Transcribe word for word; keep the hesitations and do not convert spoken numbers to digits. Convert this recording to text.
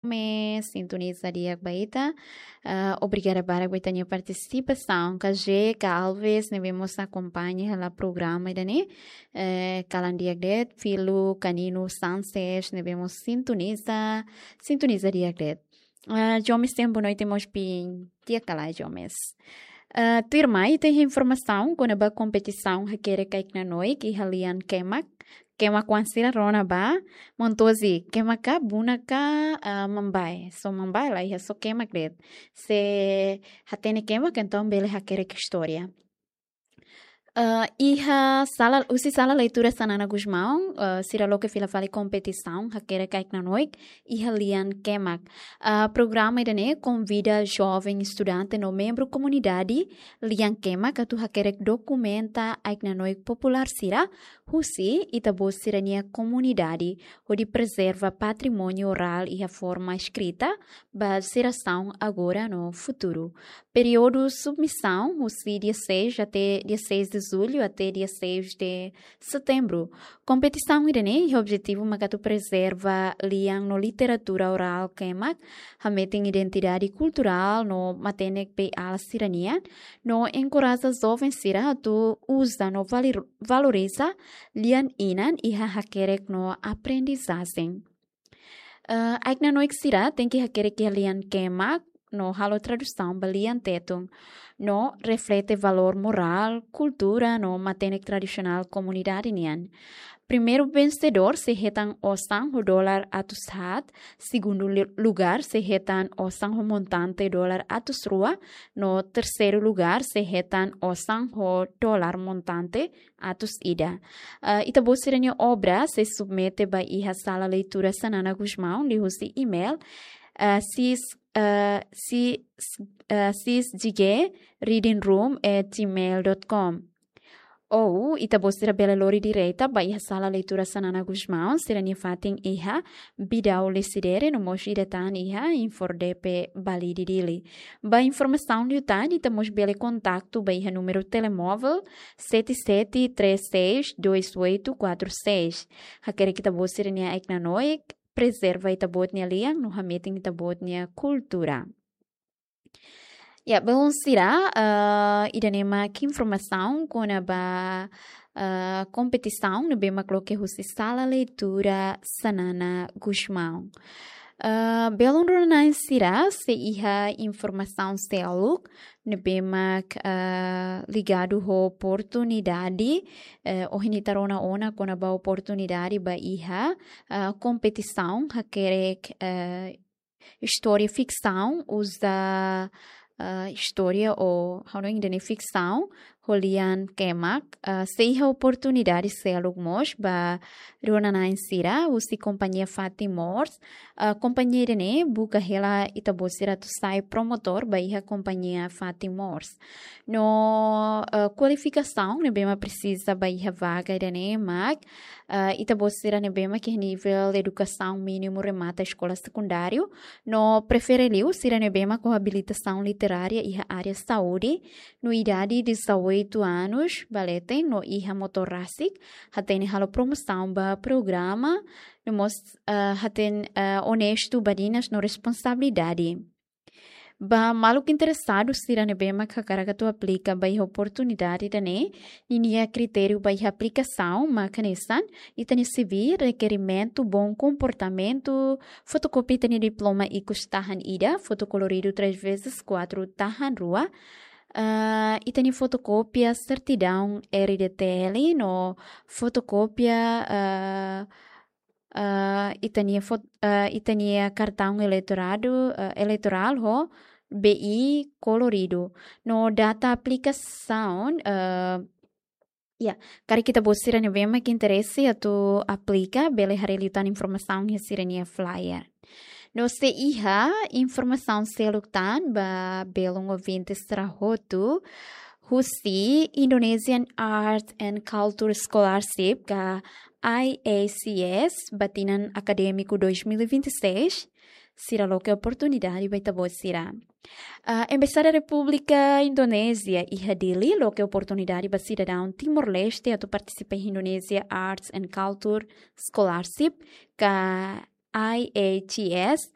Gomes, sintoniza di'ak ba ita. Ah, obrigada barak ba ita-nia partisipasaun. Ka Jeka Alves, ne'ebé mós akompaña hela programa ida-ne'e. Eh, kalan di'ak de'it, Filo Canino Sanches, ne'ebé mós sintoniza, sintoniza di'ak de'it. Ah, Jomes, tenke boa noite mós ba ita, di'ak ka lae, Jomes? Ah, tuirmai ita iha informasaun kona-ba kompetisaun hakerek ai-knanoik iha lian kemak. Kemak oan sira rona ba, Montozi, kemak ka buna ka, ah, Mambae? Só Mambae, la iha só kemak de'it. Se hatene kemak, entaun bele hakerek istória. Ah, iha sala, husi sala leitura Xanana Gusmão, ah, sira loke fila fali kompetisaun hakerek ai-knanoik iha lian kemak. Ah, programa ida-ne'e konvida joven estudante no membru komunidade lian kemak atu hakerek dokumenta ai-knanoik populár sira husi ita-boot sira-nia komunidade, hodi prezerva patrimóniu orál iha forma eskrita ba jerasaun agora no futuru. Períodu submisaun husi dia seis até dia seis de julho até dia seis de setembro. Kompetisaun ida-ne'e iha objetivu mak atu prezerva lian no literatura orál kemak, hametin identidade kulturál no matenek beiala sira-nian, no enkoraja joven sira atu uza no valir-, valoriza lian inan iha hakerek no aprendizajen. Eh, ai-knanoik sira tenke hakerek iha lian kemak no halo tradusaun ba lian Tetun, no reflete valór morál, kultura no matenek tradisionál komunidade nian. Primeiru vensedór sei hetan osan ho dólar atus haat, segundu li-, lugár sei hetan osan ho montante dólar atus rua, no terseiru lugár sei hetan osan ho dólar montante atus ida. Ah, ita-boot sira-nia obra sei submete ba iha sala leitura Xanana Gusmão liuhusi email, ah, sis, ah, si-, ah, sisgreadingroom at gmail dot com. Ou ita-boot sira bele lori direta ba iha sala leitura Xanana Gusmão, sira-nia fatin iha Bidau Lecidere, no mós ida tan iha INFORDEPE Balide, Dili. Ba informasaun liután, ita mós bele kontaktu ba iha númeru telemóvel sete sete três seis dois oito quatro seis. Hakerek ita-boot sira-nia ai-knanoik, prezerva ita-boot nia lian no hametin ita-boot nia kultura. Ya, belun sira, eh, ida-ne'e mak informasaun kona-ba, eh, kompetisaun ne'ebé mak loke husi sala leitura Xanana Gusmão. Eh, belun rona-na'in sira, sei iha informasaun seluk ne'ebé mak, eh, ligadu ho oportunidade, eh, ohin ita rona ona kona-ba oportunidade ba iha, eh, kompetisaun hakerek, eh, istória fiksaun, uza, ah, istória ou, ha'u hanoin ida-ne'e fiksaun, ho lian kemak, ah, sei iha oportunidade seluk mós ba rona-na'in sira husi kompañia Fatin Mors. Ah, kompañia ida-ne'e buka hela ita-boot sira atu sai promotór ba iha kompañia Fatin Mors. No, ah, kualifikasaun ne'ebé mak presiza ba iha vaga ida-ne'e mak, ah, ita-boot sira ne'ebé mak iha nivel edukasaun mínimu remata eskola sekundáriu, no prefere liu sira ne'ebé mak ho abilitasaun literária iha área saúde, no idade dezoito anos ba leten, no iha motór rasik, hatene halo promosaun ba programa, no mós, ah, hatene, ah, onestu, badinas no responsabilidade. Ba maluk interesadu sira ne'ebé mak hakarak atu aplika ba iha oportunidade ida-ne'e, ninia kritériu ba iha aplikasaun mak hanesan: ita-nia C V, rekerimentu, bom komportamentu, fotokópia ita-nia diploma ikus tahan ida, fotokoloridu três vezes quatro tahan rua, ah, ita-nia fotokópia sertidaun R D T L no fotokópia, ah, ah, ita-nia fot-, ah, ita-nia kartaun eleitoradu, ah, eleitorál ho B I koloridu. No data aplikasaun, ah, ya, karik ita-boot sira ne'ebé mak interese atu aplika, bele haree liután informasaun iha sira-nia flyer. No sei iha informasaun seluk tan ba belun ouvinte sira hotu, husi Indonesian Art and Culture Scholarship, ka I A C S, ba tinan akadémiku dois mil e vinte e seis, sira loke oportunidade ba ita-boot sira. Ah, Embaixada Repúblika Indonézia iha Dili loke oportunidade ba sidadaun Timor-Leste atu partisipa iha Indonesia Arts and Culture Scholarship, ka I A C S,